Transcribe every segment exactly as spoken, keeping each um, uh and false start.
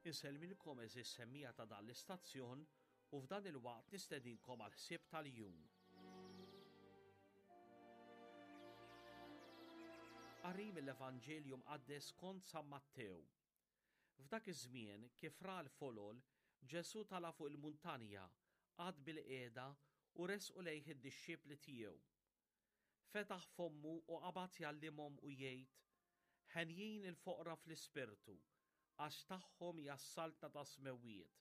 Insellmilkom għeżież semmiegħa ta' dan l-istazzjon u f'dan il-waqt nistedinkom għal ħsieb tal-jum. Qari mill-Evanġelju mqaddes skont San Mattew. F'dak iż-żmien, kif ra l-folol, Ġesù tala' fuq il-muntanja, qagħad bil-qiegħda u resqu lejh id-dixxipli tiegħu. Fetaħ fommu u qabad jgħallimhom u jgħid, Henjin il-foqra fl-ispirtu, għax tagħhom hija s-saltna tas-smewwiet.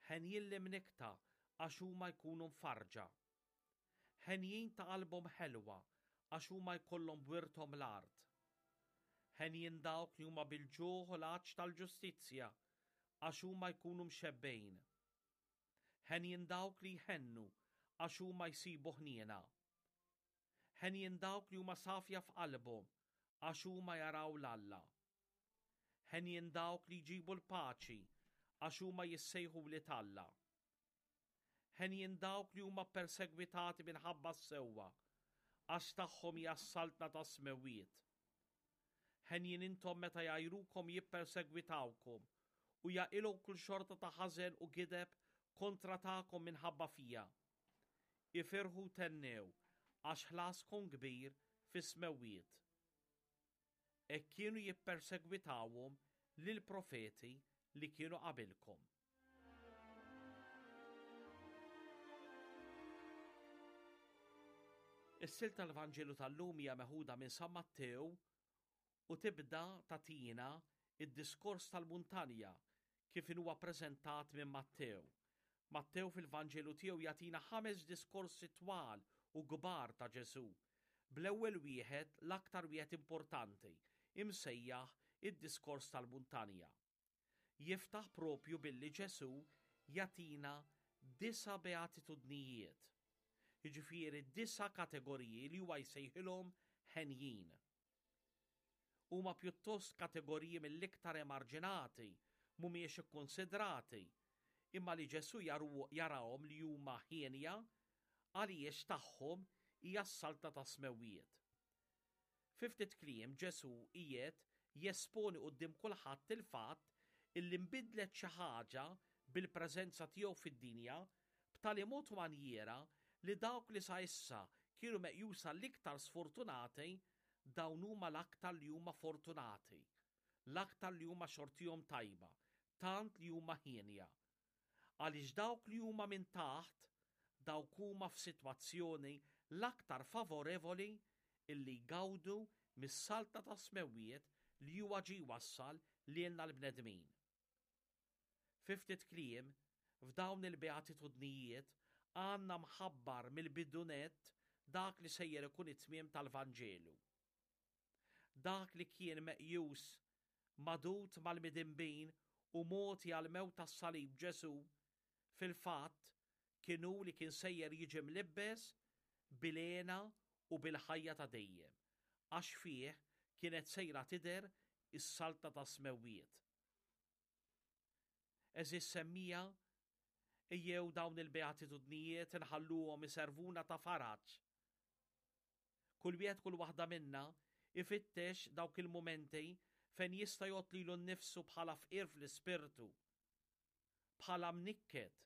Henjin l-imnikkta għax huma jkunu mfarrġa. Henjin ta' qalbhom ħelwa għax huma jkollhom b'wirthom l-art. Henjin dawk li huma bil-ġuħ u l-għatx tal-ġustizzja għax huma jkunu mxebbgħin. Henjin dawk li jħennu għax huma jsibu ħniena. Henjin dawk li huma safja f'qalbhom għax huma jaraw 'l Alla. Henjin dawk li jġibu l-paċi għax huma jissejħu wlied Alla. Henjin dawk li huma ppersegwitati minħabba s-sewwa għax tagħhom hija s-saltna tas-smewwiet. Henjin intom meta jgħajrukom jippersegwitawkom u jaqilgħu kull xorta ta' ħażen u gideb kontra tagħkom minħabba fija. Ifirħu u thennew għax ħlaskom kbir fis-smewwiet. Hekk kienu jippersegwitawhom lill-profeti li kienu qabilkom. Is-silta tal-Vanġelu tal-lum hija meħuda minn San Mattew u tibda tagħtina id-diskors tal-muntanja kif huwa ppreżentat minn Mattew. Mattew fil-Vanġelu tiegħu jagħtina ħames diskorsi twal u kbar ta' Ġesù. Bl-ewwel wieħed, l-aktar wieħed importanti, imsejjaħ id-diskors tal-muntanja. Jiftaħ propju billi Ġesù jagħtina disa' beatitudnijiet, jiġifieri disa' kategoriji li huwa jsejħilhom henjin. Huma pjuttost kategoriji mill-iktar emarġinati, mhumiex ikkonsidrati, imma li Ġesù jarahom li huma hienja għaliex tagħhom hija s-saltna tas-smewwiet. Fi ftit kliem Ġesù qiegħed jesponi quddiem kulħadd il-fatt illi nbidlet xi ħaġa bil-preżenza tiegħu fid-dinja b'tali mod u manjiera li dawk li sa issa kienu meqjusa l-iktar sfortunati dawn huma l-aktar li huma fortunati, l-aktar li huma xortihom tajba, tant li huma hienja. Għaliex dawk li huma minn taħt dawk huma f'sitwazzjoni l-aktar favorevoli illi jgawdu mis-saltna tas-smewwiet li huwa ġie jwassal lilna l-bnedmin. Fi ftit kliem, f'dawn il-beatitudnijiet għandna mħabbar mill-bidu nett dak li sejjer ikun it-tmiem tal-Vanġelu. Dak li kien meqjus magħdud mal-midinbin u mogħti għall-mewt tas-salib Ġesù, fil-fatt kien hu li kien sejjer jiġi mlibbes bil-hena u bil-ħajja ta' dejjem, għax fih kienet sejra tidher is-saltna tas-smewwiet. Għeżież semmiegħa, ejjew dawn il-beatitudnijiet inħalluhom iservuna ta' faraġ. Kull wieħed kull waħda minna ifittex dawk il-mumenti fejn jista' jgħodd lilu nnifsu bħala fqir fl-ispirtu, bħala mnikket,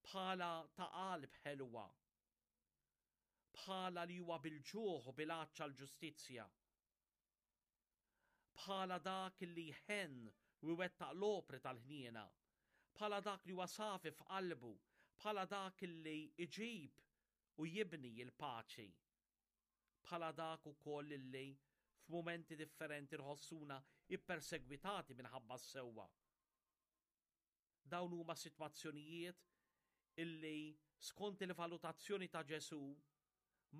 bħala ta' qalb ħelwa, bħala li huwa bil-ġuħ u bil-għatx għall-ġustizzja, bħala dak li jħenn u jwettaq l-opri tal-ħniena, bħala dak li huwa safi f'qalbu, bħala dak li jġib u jibni l-paċi, bħala dak ukoll li f'mumenti differenti nħossuna ippersegwitati minħabba s-sewwa. Dawn huma sitwazzjonijiet illi skont il-valutazzjoni ta' Ġesù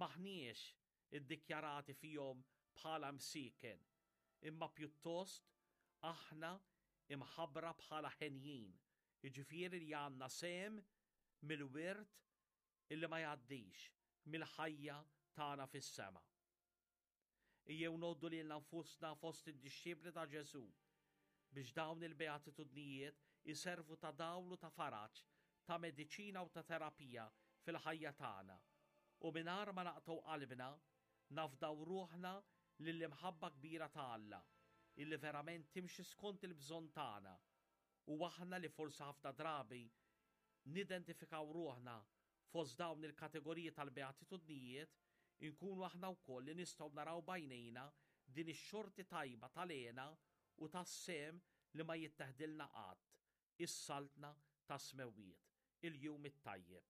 maħniex iddikjarati fihom bħala msiken, imma pjuttost aħna imħabbra bħala henjin, jiġifieri li għandna sehem mill-wirt illi ma jgħaddix mill-ħajja tagħna fis-sema. Ejjew ngħoddu lilna nfusna fost id-dixxipli ta' Ġesù biex dawn il-beatitudnijiet iservu ta' dawl u ta' faraġ, ta' mediċina u ta' terapija fil-ħajja tagħna. U mingħajr ma naqtgħu qalbna, nafdaw ruħna lill-imħabba kbira ta' Alla illi verament timxi skont il-bżonn tagħna u aħna li forsi ħafna drabi nidentifikaw ruħna fost dawn il-kategoriji tal-beatitudnijiet, inkunu aħna wkoll li nistgħu naraw b'għajnejna din ix-xorti tajba tal-hena u tas-sehem li ma jitteħdilna qatt, is-saltna tas-smewwiet. Il-jum it-tajjeb.